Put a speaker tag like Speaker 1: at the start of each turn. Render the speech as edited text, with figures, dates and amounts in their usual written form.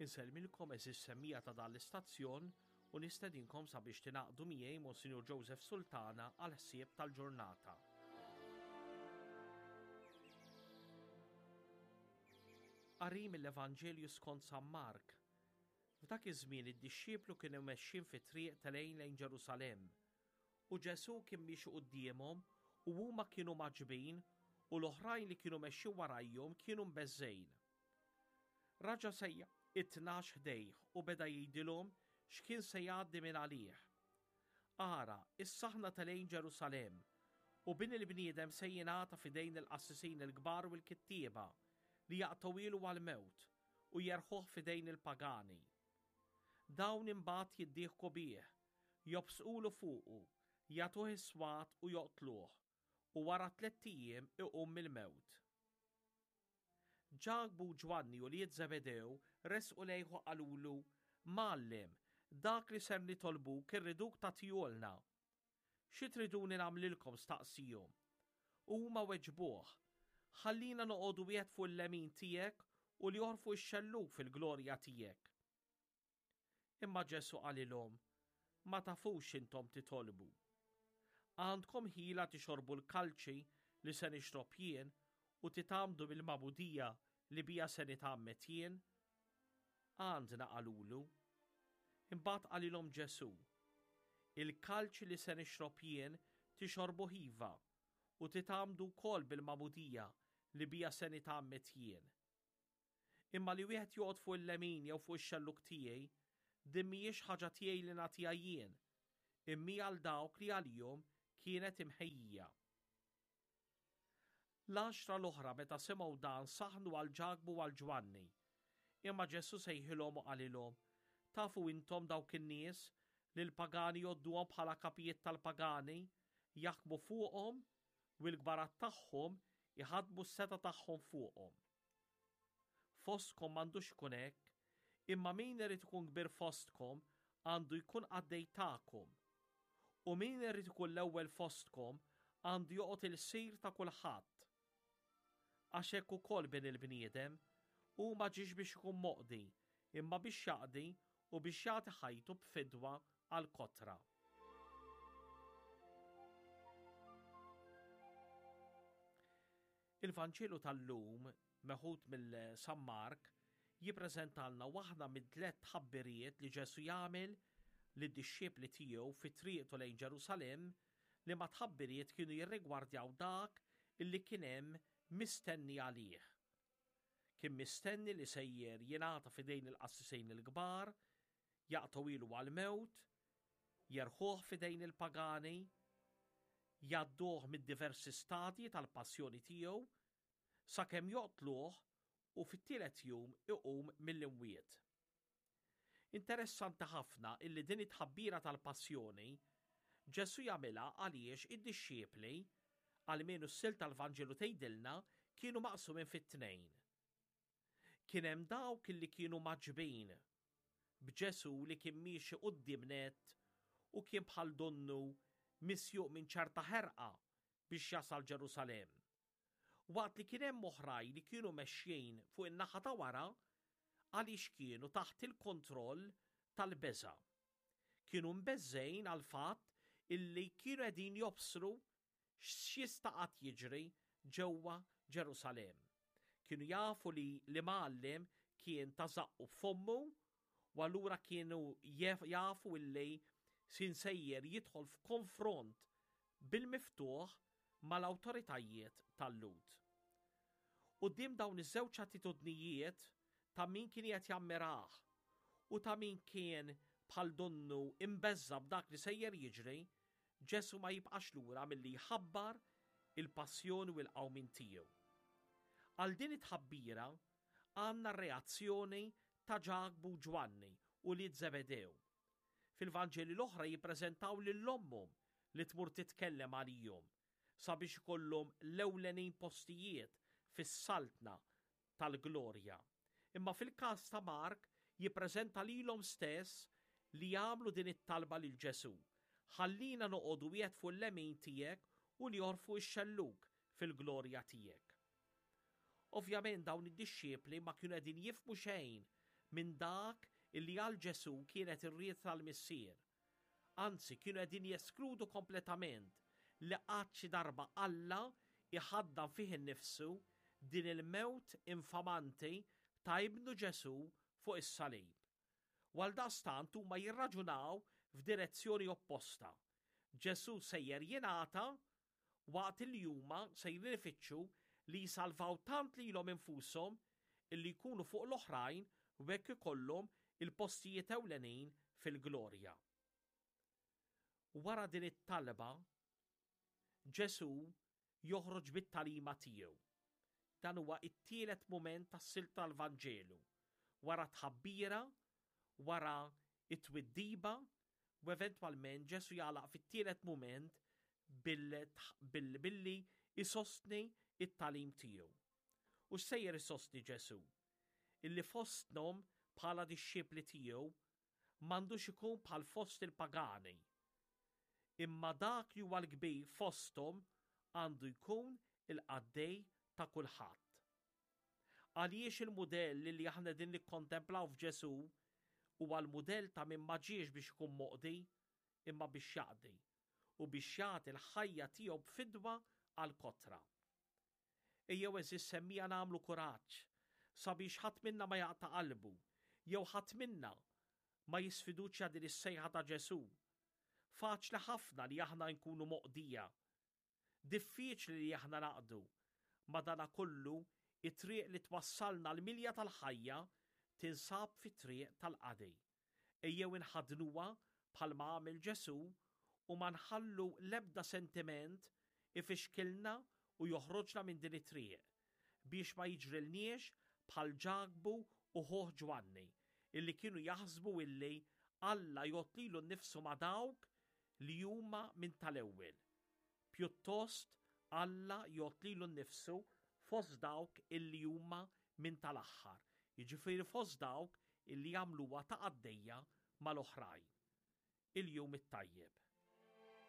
Speaker 1: Insellmilkom għeżież semmiegħa ta' dan l-istazzjon u nistedinkom sabiex tingħaqdu miegħi Monsinjur Joseph Sultana għall-ħsieb tal-ġurnata. Qari mill-Evanġelju skont San Mark. F'dak iż-żmien id-dixxiplu kienu mexjin fit-triq telgħin lejn Ġerusalemm. U Ġesù kien miexi quddiemhom u huma kienu mgħaġġbin u l-oħrajn li kienu mexjin warajhom kienu mbeżżgħin. Raġa' sejjaħ it-tnax ħdejh u beda jgħidilhom x'kien se jgħaddi minn għalih. Ara, issa aħna telgħin Ġerusalemm, u Bin il-bniedem se jingħata f'idejn il-qassisin il-kbar u l-kittieba, li jaqtgħuhielu għall-mewt u jerħuh f'idejn il-pagani. Dawn imbagħad jiddieħku bih, jobsqulu fuqu, jagħtuh is-swat u joqtluh, u wara tlett ijiem iqum mill-mewt. Ġakbu u Ġwanni ulied Żebedew resqu lejh u qalulu, Mgħallem, dak li ser nitolbuk irriduk tagħtihulna. Xi triduni nagħmlilkom? staqsiehom. U huma weġbuh, Ħallina noqogħdu wieħed fuq il-lemin tiegħek u l-ieħor fuq ix-xellug fil-glorja tiegħek. Imma Ġesù qalilhom, Ma tafux x'intom titolbu. Għandkom ħila tixorbu l-kalċi li se nixrob jien u titgħammdu mill-magħmudija li biha se nitgħammed jien? Għandna qalulu. Imbagħad qalilhom Ġesù, Il-kalċi li se nixrob jien tixorbuh iva, u titgħammdu wkoll bil-magħmudija li biha se nitgħammed jien. Imma li wieħed joqgħod fuq il-lemin jew fuq ix-xellug tiegħi, din mhijiex ħaġa tiegħi li nagħtiha jien, imma hi għal dawk li għalihom kienet imħejjija. L-għaxra l-oħra meta semgħu dan saħnu għal Ġakbu u għal Ġwanni. Imma Ġesù sejħilhom u qalilhom, Tafu intom dawk in-nies li l-pagani jgħodduhom bħala kapijiet tal-pagani, jaħkmu fuqhom, u l-kbarat tagħhom iħaddmu s-setgħa tagħhom fuqhom. Fostkom m'għandux ikun hekk, imma min irid ikun kbir fostkom għandu jkun qaddej tagħkom. U min irid ikun l-ewwel fostkom għandu joqgħod ilsir ta' kulħadd. Għax hekk ukoll bin il-bniedem, hu ma ġiex biex ikun moqdi, imma biex jaqdi u biex jagħti ħajtu b'fidwa għall-kotra. Il-Vanġelu tal-lum, meħud mill San Mark, jippreżentalna waħda mit-tlett tħabbiriet li Ġesù jagħmel lid-dixxipli tiegħu fi triqtu lejn Ġerusalemm liema tħabbiriet kienu jirrigwardjaw dak illi kien hemm mistenni għalih. Kien mistenni li sejjer jingħata f'idejn il-qassisin il-kbar, jaqtgħuhielu għall-mewt, jerħuh f'idejn il-pagani, jgħadduh mid-diversi stadji tal-passjoni tiegħu sakemm joqtluh u fit-tielet jum iqum mill-imwiet. Interessanti ħafna illi din it-tħabbira tal-passjoni Ġesù jagħmilha għaliex id-dixxiepli, almenu s-silta tal-Vanġelu tgħidilna, kienu maqsumin fit-tnejn. Kien hemm dawk illi kienu mgħaġġbin b'Ġesù li kien miexi quddiem nett u kien bħal donnu misjuq minn ċerta ħerqa biex jasal Ġerusalemm. Waqt li kien hemm oħrajn li kienu mexjin fuq in-naħa ta' wara għaliex kienu taħt il-kontroll tal-beża'. Kienu mbeżżgħin għall-fatt illi kienu qegħdin jobsru x'jista' qatt jiġri ġewwa Ġerusalemm. Kienu jafu li l-imgħallem kien ta' żaqqu b'fommu u allura kienu jafu illi sin sejjer jidħol f'konfront bil-miftuħ mal-awtoritajiet tal-Lhud. Quddiem dawn iż-żewġ attitudnijiet ta' min kien qiegħed jammirah u ta' min kien bħal donnu imbeżża' b'dak li sejjer jiġri, Ġesù ma jibqax lura milli jħabbar il-passjoni u l-qawmien tiegħu. Għal din it-tħabbira għandna r-reazzjoni ta' Ġakbu u Ġwanni, ulied Żebedew. Fil-Vanġeli l-oħra jippreżentaw lil ommhom li tmur titkellem għalihom sabiex ikollhom l-ewlenin postijiet fis-saltna tal-glorja. Imma fil-każ ta' Mark jippreżenta lilhom stess li jagħmlu din it-talba lil Ġesù, Ħallina noqogħdu wieħed fuq il-lemin tiegħek u l-ieħor fuq ix-xellug fil-glorja tiegħek. Ovvjament dawn id-dixxipli ma kienu qegħdin jifhmu xejn minn dak illi għal Ġesù kienet ir-rieda tal-Missier. Anzi, kienu qegħdin jeskludu kompletament li qatt xi darba Alla jħaddan fih innifsu din il-mewt infamanti ta' Ibnu Ġesù fuq is-salib. U għaldaqstant huma jirraġunaw f'direzzjoni opposta. Ġesù sejjer jingħata waqt li huma sejrin ifittxu li jsalvaw tant lilhom infushom illi jkunu fuq l-oħrajn u hekk ikollhom il-postijiet ewlenin fil-glorja. Wara din it-talba, Ġesù joħroġ bit-tagħlima tiegħu. Dan huwa t-tielet mument tas-silta tal-Vanġelu, wara t-tħabbira, wara t-twiddiba u eventwalment Ġesù jagħlaq fit-tielet mument billi jsostni t-tagħlim tiegħu. U x'sejjer isostni Ġesù? Illi fostnhom bħala dixxipli tiegħu m'għandux ikun bħal fost il-pagani. Imma dak li huwa l-kbir fosthom għandu jkun il-qaddej ta' kulħadd. Għaliex il-mudell li aħna qegħdin nikkontemplaw f'Ġesù huwa l-mudell ta' min ma ġiex biex ikun moqdi imma biex jaqdi u biex jagħti l-ħajja tiegħu b'fidwa għall-kotra. Ejjew għeżież semmiegħa nagħmlu kuraġġ sabiex ħadd minna ma jaqta' qalbu jew ħadd minna ma jisfiduċja din is-sejħa ta' Ġesù. Faċli ħafna li aħna nkunu moqdija Diffiċli li aħna naqdu. Madanakollu, it-triq li twassalna għall-milja tal-ħajja tinsab fit-triq tal-qadi. Ejjew inħaddnuha bħalma għamel Ġesù u ma nħallu l-ebda sentiment ifixkilna u joħroġna minn din it-triq, biex ma jiġrilniex bħal Ġakbu u ħuh Ġwanni, illi kienu jaħsbu illi Alla jgħodd lilu nnifsu ma' dawk li huma minn tal-ewwel. Pjuttost, Alla jgħodd lilu nnifsu fost dawk illi huma minn tal-aħħar, jiġifieri fost dawk illi jagħmluha ta' qaddejja mal-oħrajn. Il-Jum it-Tajjeb.